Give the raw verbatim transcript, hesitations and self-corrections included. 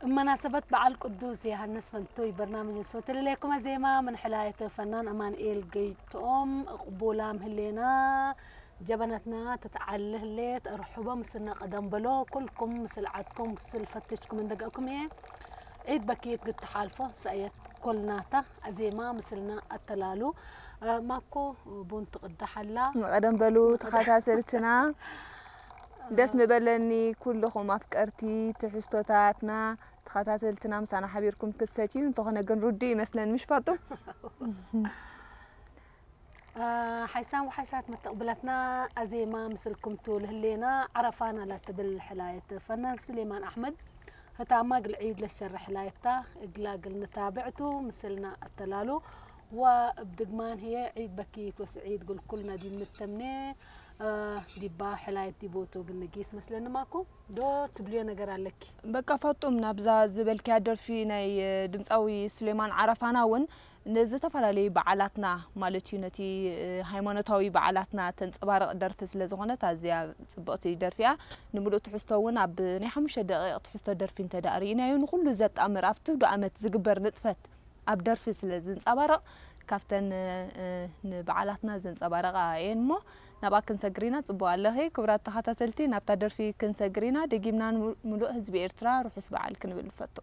ብመናሰበት በዓል ቅዱስ ዮሐንስ ፈንቱይ፣ በርናምጅ እንሶት ለሌኩም አዜማ ምን ሕላየት ፈናን አማንኤል ገይቶም እቅቡላም ህሌና። ጀበነትና ትትዓል ህሌት፣ እርሑበ ምስልነ ቀደም በሎ። ኩልኩም ምስል ዐድኩም፣ ምስል ፈትሽኩም እንደገእኩም ህዬ፣ ዒድ በኪት ግድ ተሓልፎ ሰእየት ኮልናታ። አዜማ ምስልና አተላሉ። እ፣ ማኮ ቡን ትቅዳሕ አላ። ቀደም በሉ ተኸታተልትና። ደስ ምበለኒ ኩልኹም አፍቀርቲ ትሕዝቶታትና፣ ተኸታተልትና ምሳና ሓቢርኩም ክትሰትዩ እንተኾነ ግን ርዱእ ይመስለን፣ ምሽ ፋጡም? አ፣ ሓይሳም ወሓይሳት መተቅብለትና፣ አዜማ ምስልኩም ቱ ለህሌና፣ ዐረፋና ለትብል ሕላየት ፈናን ስሌማን አሕመድ ህታማ እግል ዒድ ለሸረ ሕላየታ፣ እግላ እግል ንታብዕቱ ምስልና አተላሉ። ወእብ ድግማን ህዬ ዒድ በኪት ወስዒድ እግል ኩልና ዲብ ንተምኔ፣ አ፣ ዲባ ሕላየት ዲቦቱ እግል ንጊስ መስለኒ ማኩ ዶ ትብልዮ ነገር አለኪ? በቃ ፋጡም፣ ናብዛ ዝበልክያ ደርፊ ናይ ድምጻዊ ስሌማን ዐረፋና እውን ንዝተፈላለዩ በዓላትና ማለት እዩ፣ ነቲ ሃይማኖታዊ በዓላትና ተንጸባርቕ ደርፊ ስለ ዝኾነት ኣዝያ ጽብቕቲ ደርፊ እያ። ንምሉእ ትሕዝቶ እውን ኣብ ናይ ሓሙሽተ ደቂቕ ትሕዝቶ ደርፊ እንተ ደኣ ርኢናዮ፣ ንኹሉ ዘጣምር ኣብ ትውዲ ኣመት ዝግበር ንጥፈት ኣብ ደርፊ ስለ ዝንጸባረቕ፣ ካብተን፣ እ፣ ንበዓላትና ዘንጸባረቓ እየን እሞ፣ ናብኣ ክንሰግር ኢና። ጽቡቕ ኣለኺ። ክቡራት ተኸታተልቲ፣ ናብታ ደርፊ ክንሰግር ኢና። ደጊምና ንምሉእ ህዝቢ ኤርትራ ርሑስ በዓል ክንብል ንፈቱ።